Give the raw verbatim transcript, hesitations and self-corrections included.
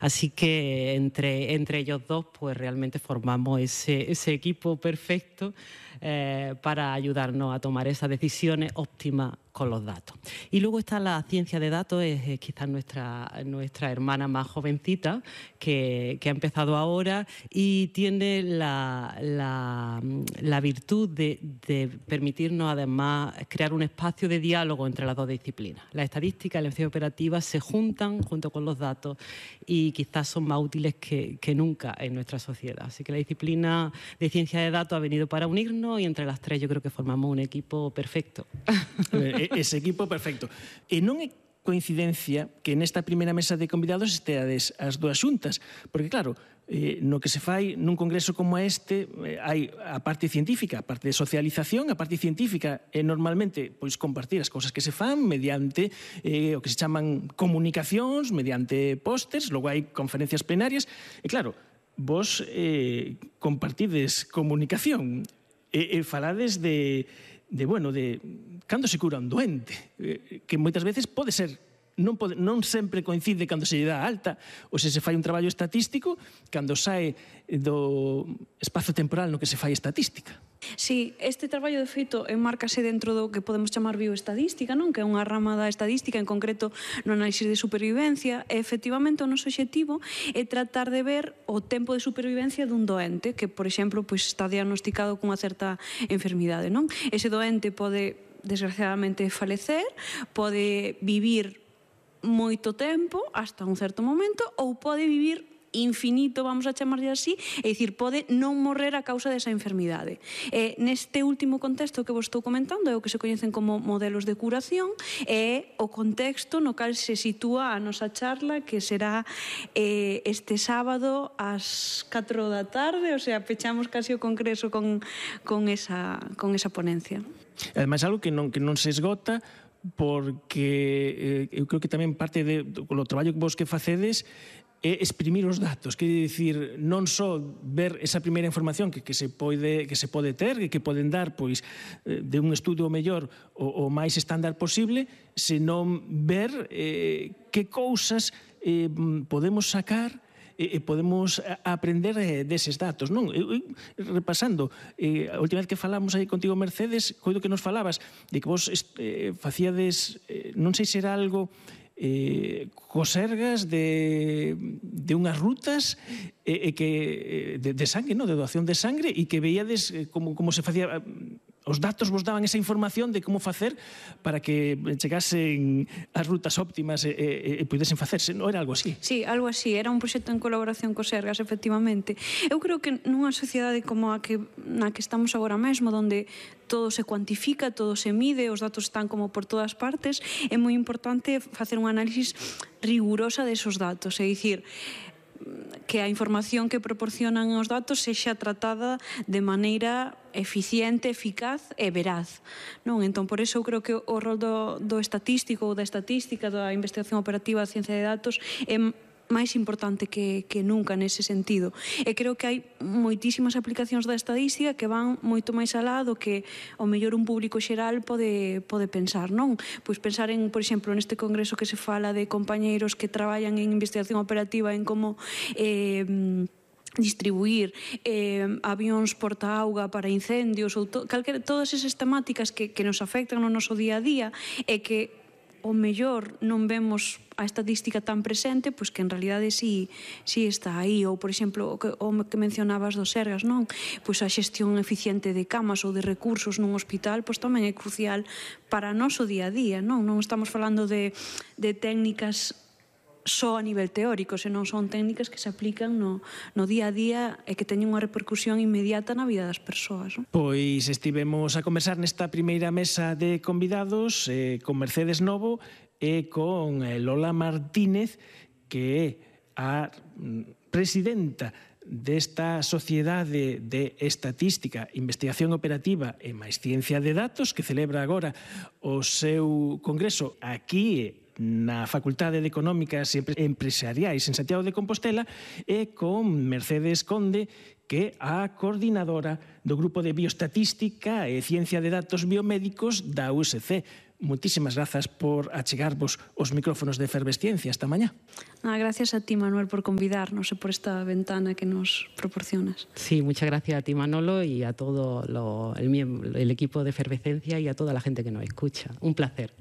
Así que entre, entre ellos dos pues realmente formamos ese, ese equipo perfecto eh, para ayudarnos a tomar esas decisiones óptimas con los datos. Y luego está la ciencia de datos, es, es quizás nuestra, nuestra hermana más jovencita, que, que ha empezado ahora y tiene la, la, la virtud de, de permitirnos además crear un espacio de diálogo entre las dos disciplinas. La estadística y la ciencia operativa se juntan junto con los datos y quizás son más útiles que, que nunca en nuestra sociedad. Así que la disciplina de ciencia de datos ha venido para unirnos y entre las tres yo creo que formamos un equipo perfecto. Ese equipo perfecto. E non é coincidencia que nesta primeira mesa de convidados esteades as dúas xuntas, porque claro, eh, no que se fai nun congreso como este, eh, hai a parte científica, a parte de socialización, a parte científica é normalmente pois compartir as cousas que se fan mediante eh, o que se chaman comunicacións, mediante pósters, logo hai conferencias plenarias, e claro, vos eh, compartides comunicación e, e falades de de, bueno, de cando se cura un doente, que moitas veces pode ser, non, pode, non sempre coincide cando se lle dá alta, ou se se fai un traballo estatístico, cando sae do espazo temporal no que se fai estatística. Sí, este traballo de feito enmárcase dentro do que podemos chamar bioestadística, non? Que é unha rama da estadística, en concreto no análisis de supervivencia, e efectivamente o noso obxectivo é tratar de ver o tempo de supervivencia dun doente que, por exemplo, pois está diagnosticado cunha certa enfermidade, non? Ese doente pode, desgraciadamente, falecer, pode vivir moito tempo, hasta un certo momento, ou pode vivir infinito, vamos a chamarlle así, é dicir, pode non morrer a causa desa enfermidade. E neste último contexto que vos estou comentando é o que se coñecen como modelos de curación, é o contexto no cal se sitúa a nosa charla, que será eh, este sábado ás catro da tarde, o sea, pechamos casi o congreso con, con, esa, con esa ponencia. Ademais, algo que non, que non se esgota, porque eh, eu creo que tamén parte de, do traballo que vos que facedes é exprimir os datos, que dicir, non só ver esa primeira información que, que, se, pode, que se pode ter, que, que poden dar pois, de un estudo mellor o, o máis estándar posible, senón ver eh, que cousas eh, podemos sacar e podemos aprender deses datos, non? Eu, repasando, eh, a última vez que falamos aí contigo, Mercedes, coido que nos falabas de que vos eh, facíades, eh, non sei se era algo eh, cosergas de, de unhas rutas eh, que, de, de sangue, no? De doación de sangre, e que veíades eh, como, como se facía, os datos vos daban esa información de como facer para que chegasen as rutas óptimas e, e, e pudesen facerse, non era algo así? Sí, algo así, era un proxecto en colaboración co Sergas, efectivamente. Eu creo que nunha sociedade como a que, na que estamos agora mesmo, donde todo se cuantifica, todo se mide, os datos están como por todas partes, é moi importante facer un análisis rigurosa desos datos, é dicir, que a información que proporcionan os datos sexa tratada de maneira eficiente, eficaz e veraz, non? Entón, por iso eu creo que o rol do, do estatístico ou da estatística, da investigación operativa da ciencia de datos é máis importante que, que nunca nese sentido. E creo que hai moitísimas aplicacións da estadística que van moito máis alá do que o mellor un público xeral pode, pode pensar, non? Pois pensar en, por exemplo, neste congreso que se fala de compañeiros que traballan en investigación operativa en como eh, distribuir eh, avións porta-auga para incendios ou to, calquera, todas esas temáticas que, que nos afectan no noso día a día e que o mellor non vemos a estadística tan presente, pois que en realidade sí, sí está aí. Ou, por exemplo, o que, o que mencionabas dos Sergas, non? Pois a xestión eficiente de camas ou de recursos nun hospital, pois tamén é crucial para o noso día a día, non? Non estamos falando de, de técnicas só a nivel teórico, senón son técnicas que se aplican no, no día a día e que teñen unha repercusión inmediata na vida das persoas. Non? Pois estivemos a conversar nesta primeira mesa de convidados eh, con Mercedes Novo e con Lola Martínez, que é a presidenta desta Sociedade de Estatística, Investigación Operativa e máis Ciencia de Datos, que celebra agora o seu congreso aquí na Facultade de Económicas e Empresariais en Santiago de Compostela, e con Mercedes Conde, que é a coordinadora do Grupo de Bioestatística e Ciencia de Datos Biomédicos da U S C. moitísimas grazas por achegarvos os micrófonos de Efervesciencia esta mañá. Ah, gracias a ti, Manuel, por convidarnos e por esta ventana que nos proporcionas. Sí, muchas gracias a ti, Manolo, y a todo lo, el, el equipo de Efervescencia y a toda la gente que nos escucha. Un placer.